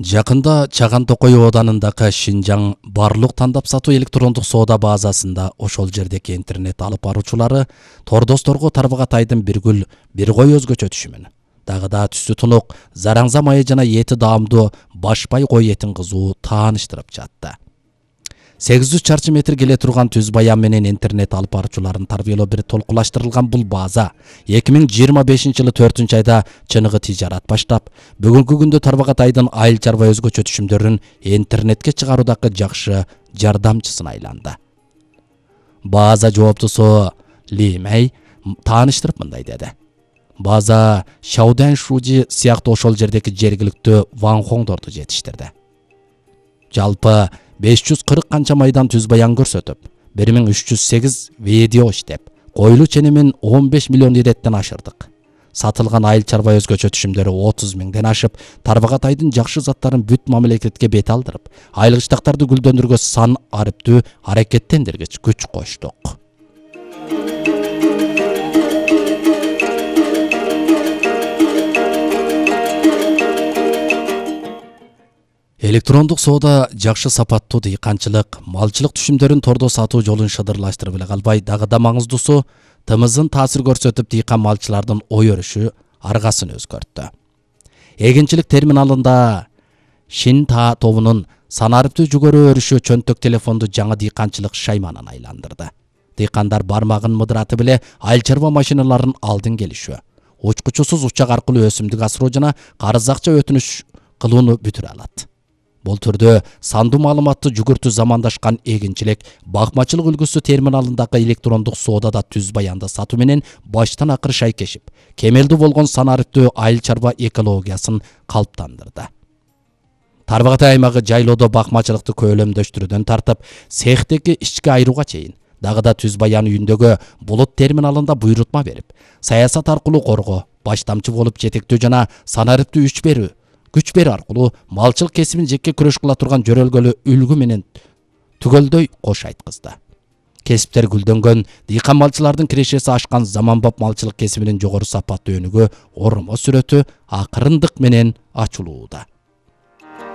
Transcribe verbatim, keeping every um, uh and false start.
Жакында Чаган Токой Оданындагы Шинжаң барлык тандап сатуу электрондук соода базасында ошол жердеги интернет алып баруучулары тордосторго Тарбагатайдын бир гүл бир кой өзгөчө түшүмүн. Дагы да түсү тунук, зараңза майы жана эти даамдуу башпай кой этин кызуу тааныштырып жатты. сегиз жүз чарчы метр келе турган түз баян менен интернет алып баруучуларын тарбиялоо бир толкулаштырылган бул база эки миң жыйырма бешинчи жылы төртүнчү айда чыныгы тижарат баштап, бүгүнкү күндө Тарбагатайдын айыл чарба өзгөчө түшүмдөрүн интернетке чыгаруудагы жакшы жардамчысына айланды. База жооптусу Ли Мэй тааныштырып мындай деди. База Шауден Шужи сыяктуу ошол жердеги жергиликтүү ванхоңдорду жетиштирди. Жалпы беш жүз кырк канча майдан түз баян көрсөтүп, бир миң үч жүз сегиз видео иштеп, койлуу ченемин он беш миллион иреттен ашырдык. Сатылган айыл чарба өзгөчө түшүмдөрү отуз миңден ашып, Тарбагатайдын жакшы заттарын бүт мамлекетке бет алдырып, айылгычтактарды гүлдөндүргө сан арыптуу аракеттендиргич күч коштук. Электрондук соода жакшы сапаттуу дыйканчылык, малчылык түшүмдөрүн тордо сатуу жолун шыдырлаштырып эле калбай, дагы да маңыздуусу тымызын таасир көрсөтүп дыйкан малчылардын ой өрүшү аргасын өзгөрттү. Эгинчилик терминалында Шин Та тобунун санарыптуу жүгөрү өрүшү чөнтөк телефонду жаңы дыйканчылык шайманын айландырды. Дыйкандар бармагын мыдыраты беле айыл чарба машиналарын алдын келишүү, учкучусуз учак аркылуу өсүмдүк асыроо жана карыз акча өтүнүш кылууну бүтүрө алат. Бул түрдө сандуу маалыматты жүгүртүү замандашкан эгинчилик, бакмачылык үлгүсү терминалындагы электрондук соодада түз баянды сатуу менен баштан акыры шайкешип, кемелдүү болгон санарыптуу айыл чарба экологиясын калыптандырды. Тарбагатай аймагы жайлоодо бакмачылыкты көөлөмдөштүрүүдөн тартып, цехтеги ички айрууга чейин, дагы да түз баян үйүндөгү булут терминалында буйрутма берип, саясат аркылуу коргоо, баштамчы болуп жетектөө жана санарыптуу күч берүү күч берүү аркылуу малчылык кесибин жеке күрөш кыла турган жөрөлгөлүү үлгү менен түгөлдөй кош айткызды. Кесиптер гүлдөнгөн, дыйкан малчылардын кирешеси ашкан заманбап малчылык кесибинин жогору сапаттуу өнүгүү, оромо сүрөтү акырындык менен ачылууда.